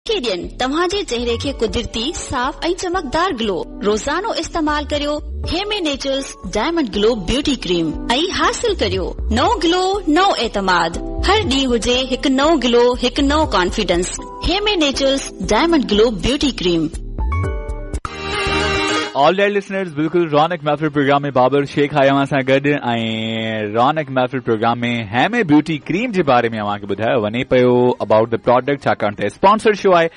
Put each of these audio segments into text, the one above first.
کي ڏين توهان جي چهري کي قدرتي، صاف ۽ چمڪدار گلو. روزانو استعمال ڪريو Hemi Naturals diamond glow beauty cream ۽ حاصل ڪريو نئون گلو نئون اعتماد. هر ڏينهن هجي هڪ نئون گلو هڪ نئون confidence Hemi Naturals diamond glow beauty cream. All right listeners بلڪل رونق محفل پروگرام ۾ بابر شيخ آهي اوهان سان گڏ ۽ رونق محفل پروگرام ۾ هيمي بيوٽي ڪريم جي باري ۾ اوهان کي ٻڌايو وڃي پيو ابائوٽ the product ڇاڪاڻ ته اسپانسر شو آهي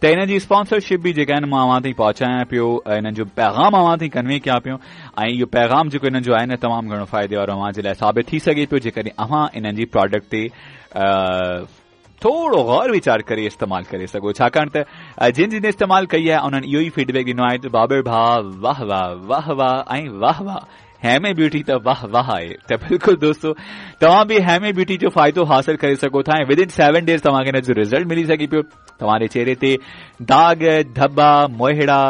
ته انهن جي اسپانسرشپ به جيڪا آهن مان اوهان تائين پهچايان پيو انهن جو پيغام اوهان تائين ڪنوي ڪيان پيو ۽ اهو پيغام جيڪو انهن جو آهي نه تمام گهڻو فائدي وارو اوهان جي لاء ثابت ٿي سگهي پيو جيڪڏهن اوهان انهن جي پراڊڪٽ تي ٿورو غور ويچار ڪري استعمال ڪري سگهو ڇاڪاڻ ته جن جن استعمال ڪئي آهي انهن اهو ئي فيڊ بيڪ ڏنو آهي ته بابر ڀاء واهه واهه واهه واهه ۽ واهه واهه هيمي بيوٽي ته واهه واهه آهي ته بلڪل دوستو توهان به هيمي بيوٽي جو فائدو حاصل ڪري سگهو ٿا ۽ ود ان 7 ڊيز توهان کي ان جو رزلٽ ملي سگهي پيو توهان جي چهري تي داغ ڌٻا موهڙا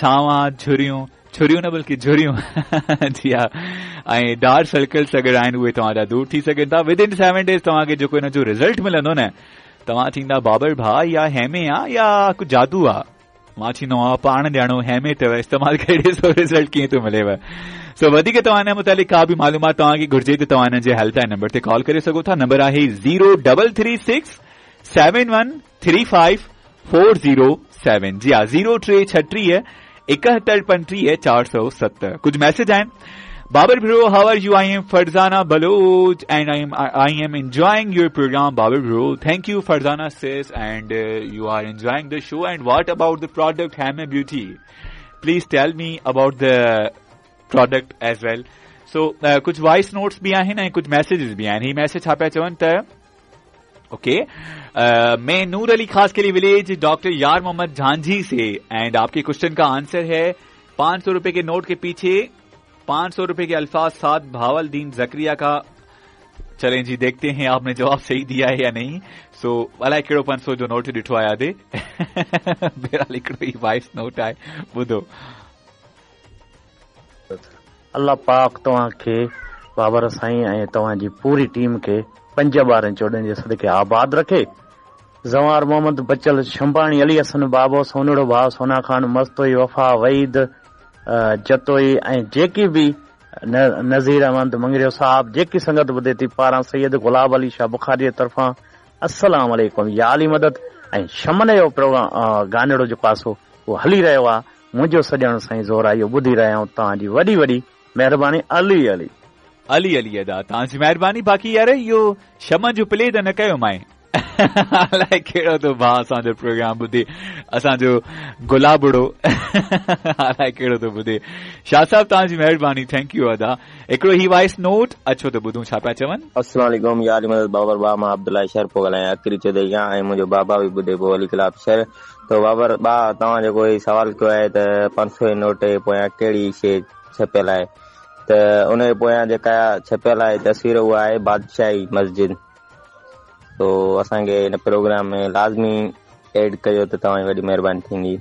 ڇاوان جهريون ڇريون نه بلڪه جهريون جي ها ۽ ڊارڪ سرڪلس اگر آهن اهي توهان جا دور ٿي سگهن ٿا ود ان 7 ڊيز توهان کي جيڪو ان جو رزلٽ ملندو نه توهان چئيندا بابر ڀاء يا هيمي آ يا ڪو جادو آ مان چئيندو آهيان پاڻ ڄاڻو هيمي اٿو استعمال ڪري ڏسو رزلٽ ڪيئن ٿو مليو سو وڌيڪ توهان ان متعلق ڪا به معلومات توهان کي گهرجي ته توهان انهن جي هيلپ لائن نمبر تي ڪال ڪري سگهو ٿا نمبر آهي 0336 71 35 407 جي ها زيرو ٽي ڇٽيهه ايڪهتر پنٽيهه 407 ڪجهه ميسيج آهن Babar bro how are you I am Farzana Baloch and I am I am enjoying your programme Babar bro thank you Farzana sis and you are enjoying the show and what about the product Hemi beauty please tell me about the product as well so ڪجهه voice notes به آهن ۽ ڪجهه messages به آهن هي message ڇا پيا چون ته ओके मैं नूर अली खास के लिए विलेज डॉक्टर यार मोहम्मद झांझी से एंड आपके क्वेश्चन का आंसर है 500 रुपए के नोट के पीछे 500 रुपए के अल्फाज साथ भावल दीन जकरिया का चलें जी देखते हैं आपने जवाब सही दिया है या नहीं सो अलाए कहिड़ो 500 जो नोट ॾिठो आहे आदे बहरहाल हिकिड़ो ई वॉइस नोट आहे ॿुधो الله پاڪ توهان کي بابر سائين ۽ توهان جي پوري ٽيم کي 5 12 14 جي صدقي آباد رکي. زوار محمد بچل شنباڻي علي حسن بابو سونڙو ڀاء سونا خان مستوئي وفا وحيد جتوئي ۽ جيڪي به نذير احمد مڱريو صاحب جيڪي سنگت ٻڌي ٿي پاران سيد گلاب علي شاهه بخاري جي طرفان السلام عليڪم يا علي مدد ۽ شمن جو پروگرام گانڙو جيڪو آ سو اهو هلي رهيو آ منهنجو سڄڻ سائين زورائي اهو ٻڌي رهيا آهيون توهان جي وڏي وڏي مهرباني علي علي. علي علي ادا توهان جي مهرباني باقي يار اهو شمن جو پلي ته نه ڪيو مائين الائي ڪهڙو ٿو ڀاء اسان جو پروگرام ٻڌي اسان جو گلابڙو الائي ڪهڙو ٿو ٻڌي شاهه صاحب توهان جي مهرباني thank you ادا هڪڙو هي وائس نوٽ اچو ته ٻڌون ڇا پيا چون. السلام عليڪم يا علي مدد بابر ڀاء مان عبدالله شر پيو ڳالهايان اڪري چوڌري کان ۽ منهنجو بابا به ٻڌي پيو علي گلاب شر تو بابر ڀاء توهان جيڪو هي سوال ڪيو آهي ته 500 جي نوٽ جي پويان ڪهڙي شيء ڇپيل آهي ته ان جي پويان جيڪا ڇپيل آهي تصوير اها آهي بادشاهي مسجد تو اسان کي هن پروگرام ۾ لازمي ايڊ ڪيو ته توهان جي وڏي مهرباني ٿيندي.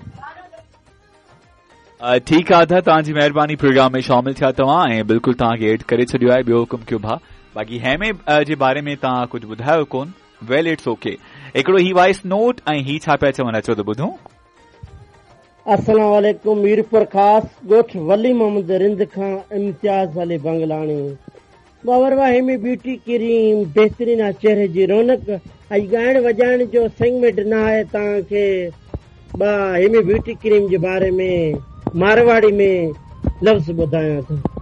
ٺيڪ آ ادا توهان جي مهرباني پروگرام ۾ شامل ٿيا توهان ۽ بلڪل توهان کي ايڊ ڪري ڇڏيو آهي ٻيو حڪم ڪيو ڀاء باقي هيمي جي باري ۾ توهان ڪجهه ٻڌايو ڪون ويل it's okay هڪڙو هي وائس نوٽ ۽ هي ڇا پيا چون اچو ته ٻڌون. السلام عليڪم ميرپورخاص ڳوٺ ولي محمد رند کان امتياز علي بنگلاڻي بابر واھ هيمي بيوٽي ڪريم بهترين آ چهري جي رونق ۽ ڳائڻ وڄائڻ جو سيگمينٽ نه آهي توهان کي با هيمي بيوٽي ڪريم جي باري ۾ مارواڙي ۾ لفظ ٻڌايان ٿو.